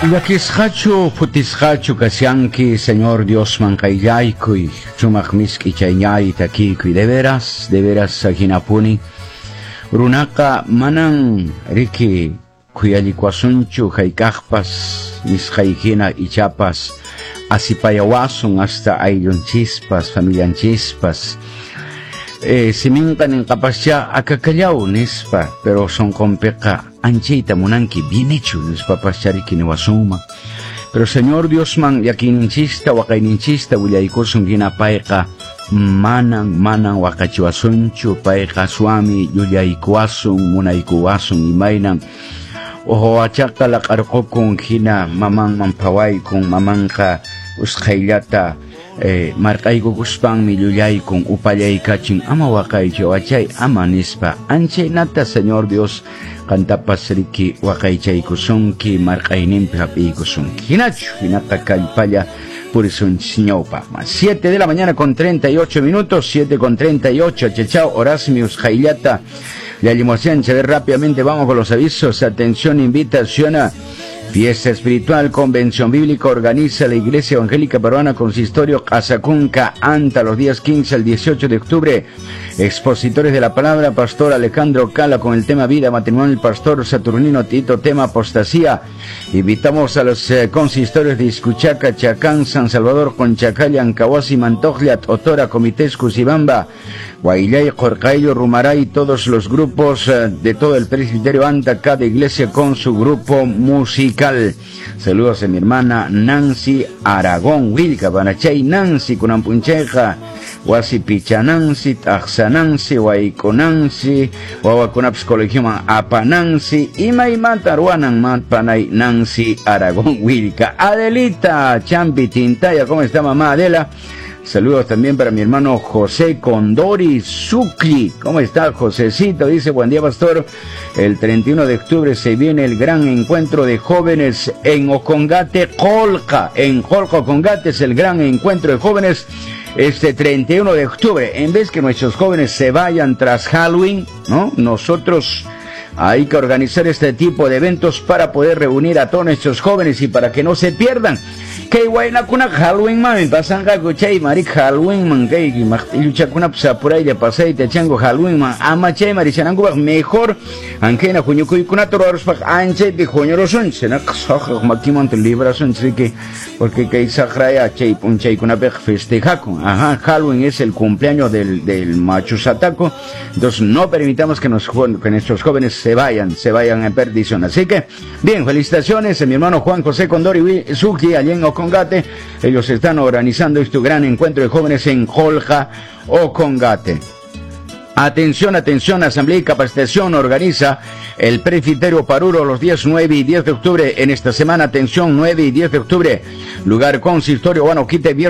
Llakisqachu phutisqachu kashanki, Señor Diosman qayllaykuy, sumaq misk'i chayñay takiykuy, de veras hinapuni. Runaqa manan riki khuyallikuwasunchu hayk'aqpas nisqay hina ichapas asipayawasun hasta ayllunchispas familianchispas. Siminqa ninqapascha akakallaw nispa, pero sunqunpiqa anchayta munanki bien hecho nispapaschá riki niwasunman. Pero Señor Diosman llakiyninchista waqayninchista willaykusun hina payqa manan manan waqachiwasunchu, payqa suami llullaykuwasun munaykuwasun imaynan wawachaqa laq'arqukun hina mamanman phawaykun, mamanqa usqhayllata marq'aykukuspanmi llullaykun upallaykachin ama waqaychu wachay ama nispa. Anchaynata Señor Dios qantapas riki waqaychaykusunki marq'ayninpi hap'iykusunki. Hinachu hinaqa kallpalla purisunchis ñawpaqman. 7 de la mañana con 38 minutos, 7:38, chachao, horasmi usqhayllata llallimuwashanchik. A ver, rápidamente vamos con los avisos. Atención, invitación a Fiesta Espiritual, Convención Bíblica, organiza la Iglesia Evangélica Peruana Consistorio Q'asacunca, Anta, los días 15 al 18 de octubre. Expositores de la palabra, Pastor Alejandro Cala con el tema Vida, Matrimonio, el Pastor Saturnino Tito, tema Apostasía. Invitamos a los consistorios de Izcuchaca, Chacán, San Salvador, Conchacalla, Ancahuasi, Mantojlia, Otora, Comités, Cusibamba, Guaillay, Jorcaillo, Rumaray, todos los grupos de todo el presbiterio Anta, cada iglesia con su grupo musical. Saludos a mi hermana Nancy Aragón Wilca, Banachay Nancy, Kunampuncheja, Wasi Pichanansi, Taxanansi, Waikonansi, Wawakunaps Colegio Apanansi, Imaymanta Ruanan Panay Nancy Aragón Wilca. Adelita Champi Tintaya, ¿cómo está mamá Adela? Saludos también para mi hermano José Condori Zucli. ¿Cómo está Josecito? Dice, buen día pastor. El 31 de octubre se viene el gran encuentro de jóvenes en Ocongate, Colca. En Colca, Ocongate es el gran encuentro de jóvenes este 31 de octubre. En vez que nuestros jóvenes se vayan tras Halloween, ¿no? Nosotros hay que organizar este tipo de eventos para poder reunir a todos nuestros jóvenes y para que no se pierdan. Kay waynakuna Halloween man pasanqaku chay marik Halloween man kay maqtilluchakuna sapuraylla pasayta chango Halloween man ama chay marishanankupaq mejor ankena huñukuykunata ruwaruspaq anchaypi huñurusunchik naqa saqraq makimanta librasunchik riki porque kay saqraya chay p'unchaykunapiqa festejakun. Ajá, Halloween es el cumpleaños del macho sataco, entonces no permitamos que nuestros jóvenes se vayan en perdición. Así que, bien, felicitaciones a mi hermano Juan José Condori Zucchi, allá en Ocongate. Ellos están organizando este gran encuentro de jóvenes en Jolja, Ocongate. Atención, atención, Asamblea y Capacitación organiza el Presbiterio Paruro los días 9 y 10 de octubre. En esta semana, atención, 9 y 10 de octubre, lugar consistorio Huanoquite, viernes.